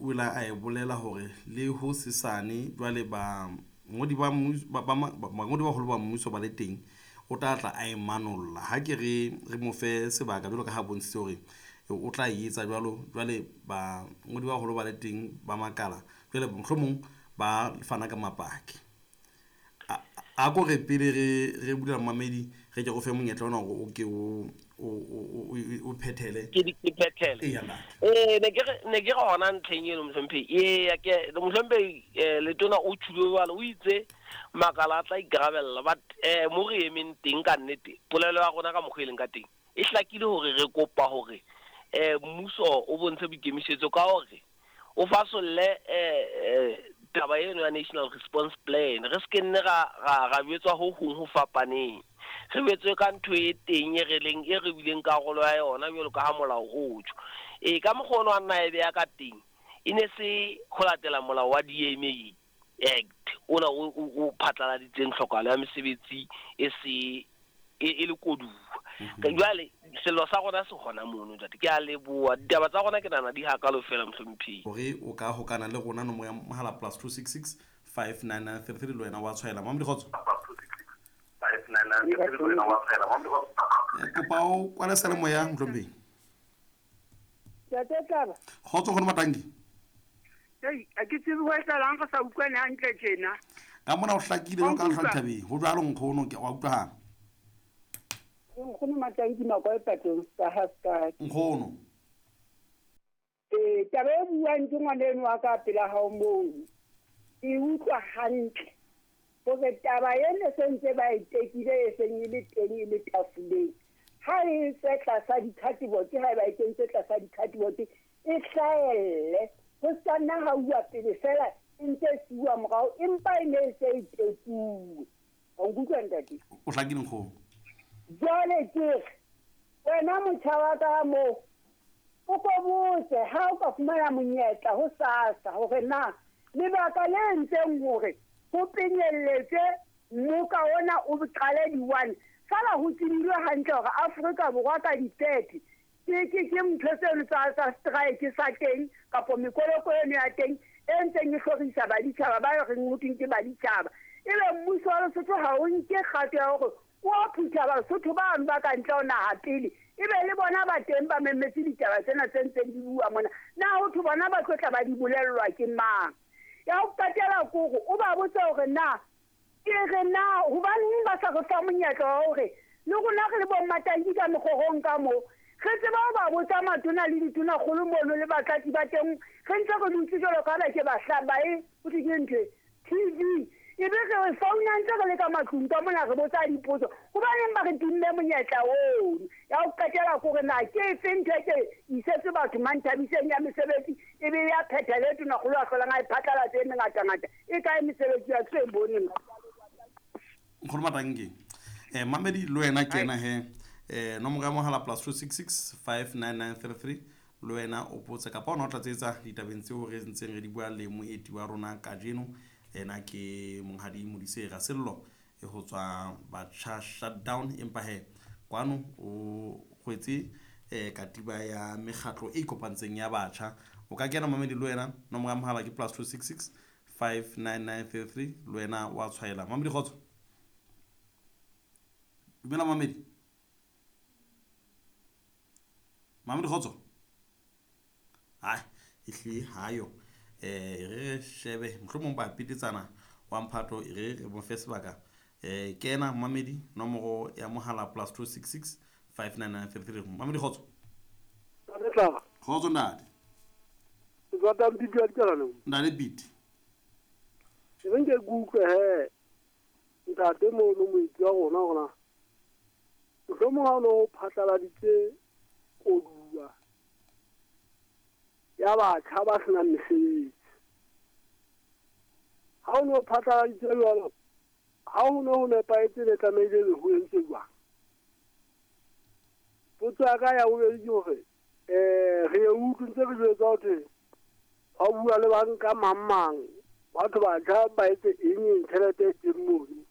o la a e bolela hore le ho sesane jwale bangodi ba bangodi ba baholo ba mmuso ba le teng, o tla tla a e manolla. Ha ke re re mo fe sebaka jwalo ka ha bontshitse hore o tla e etsa jwalo. Jwale bangodi ba baholo ba le teng ba makala, jwale mohlomong ba fana ka mapaki. A ko re pele re bula mamedi, re ke go fe monyetla ona hore o ke o phethele. Ke phethele. Ee, ne ke re hona ntlheng eno mohlomphehi. Eya, ke mohlomphehi, letona o tjhulo jwalo, o itse makala a tla ikarabella, but mo re emeng teng ka nnete, polelo ya rona ka mokgwa e leng ka teng e hlakile hore re kopa hore mmuso o bontshe boikemisetso ka hore o fasolle taba eno ya National Response Plan. Re se ke nne ra jwetswa ho hong ho fapaneng, re jwetswe ka ntho e teng e re leng e re bileng karolo ya yona jwalo ka ha molao o tjho. E ka mokgwa ono a nna e beha ka teng, e ne se ho latela molao wa DMA Act ona o phatlaladitseng tlhokahalo ya mesebetsi e se e le koduwa. Jwale sello sa rona se hona mono, ntate. Ke a leboha. Ditaba tsa rona ke nahana di hakalo fela, mohlomphehi. Hore o ka hokana le rona, nomoro ya mohala +266 599 33, le wena wa tshwaela. Mamedi, kgotso. Kopa o kwale seyalemoya, mohlomphehi. Ntate Tlaba. Kgotso, nkgono Matanki. Ei, a ke tsebe ho etsahalang re sa utlwane hantle tjena. Ka mona o hlakile jwalo ka lehlwa dithabeng. Ho jwalo nkgono, ke wa utlwahala. Nkgono Matanki Makoe Patong ka ha ska. Nkgono. Eh, taba e buang ke ngwana eno wa ka pela hao moo. E utlwa hantle. Hore taba ena se ntse ba e tekile e seng e le teng e le tafoleng. Ha e tswe tlasa di-cardboard, ha eba e kentse tlasa di-cardboard, e hlahelle. Ho sa nna ha uwa pele fela e ntse e siuwa morao, empa e ne e se e tekuwe. Wa nkutlwa, ntate? O hlakile, nkgono. Jwale ke re wena motjha wa ka moo, o ko botse ha o ka fumana monyetla ho SASSA hore na lebaka le entseng hore ho penyelletse mmoka ona o qale di-1, fela ho tsebilwe hantle hore Afrika Borwa ka di-30 ke ntho tseno tsa strike sa teng kapo mekoloko eno ya teng e ntseng e hlorisa baditjhaba ba reng ho thweng ke baditjhaba. Ebe mmuso wa Lesotho ha o nke kgato ya hore o phutha Basotho bano ba ka ntle ho naha pele, ebe le bona ba teng ba memetse ditaba tsena tse ntseng di bua mona. Na ho thwe bona ba tlo tla ba di bolellwa ke mang? Ya ho qetela kore o ba botse hore na ke re na hobaneng ba sa re fa monyetla wa hore le rona re le bo Mmatanki ka mekgorong ka moo, re tseba ho ba botsa matona le ditonakgolo mono le batlatsi ba teng, re ntse re dutse jwalo ka ba ke ba hlaba e ho thwe ke ntho e TV, ebe re founa ntse re le ka matlung ka mona re botsa dipotso, hobaneng ba re timme monyetla ono? Ya ho qetela kore na ke efe ntho e ke isetse batho Manthabiseng ya mesebetsi, ebe ya phethele tonakgolo a hlolang a e phatlalatse e mengatangata, e kae mesebetsi ya tse boneng? Nkgono Matanki, mamedi le wena kena he, nomoro ya mohala +266 59933, le wena o botse kapa ona o tlatsetsa ditabeng tseo re ntseng re di bua le moeti wa rona kajeno. Ena ke monghadi Modise Rasello e ho tswa Batjha Shutdown, empa he kwano o kgwetse katiba ya mekgatlo e ikopantseng ya batjha. O ka kena mamedi le wena, nomoro ya mohala ke +266 59933, le wena wa tshwaela. Mamedi, kgotso. Dumela mamedi. Mamedi, kgotso. Ai, ehlile hayo. Re shebe mohlomong ba petetsana wa mphato, e re mo fe sebaka. Kena mamedi, nomoro ya mohala +266 59933. Mamedi, kgotso. Kgotso ntate. Ke tswa Mpiti wa Dikalana. Ntate Piti. Ke re nke ke utlwe he ntate mono moetsi wa rona hore na mohlomong ha o no phatlaladitse koduwa ya batjha ba senang mesebetsi, ha o no phatlaladitse jwalo, ha ho no ho nepahetse le tlamehile be ho entswe jwang? Potso ya ka ya bobedi ke hore re e utlwe ntse re jwetsa ho thwe ba bua le banka mang mang, batho batjha ba etse eng eng, tjhelete e teng mono.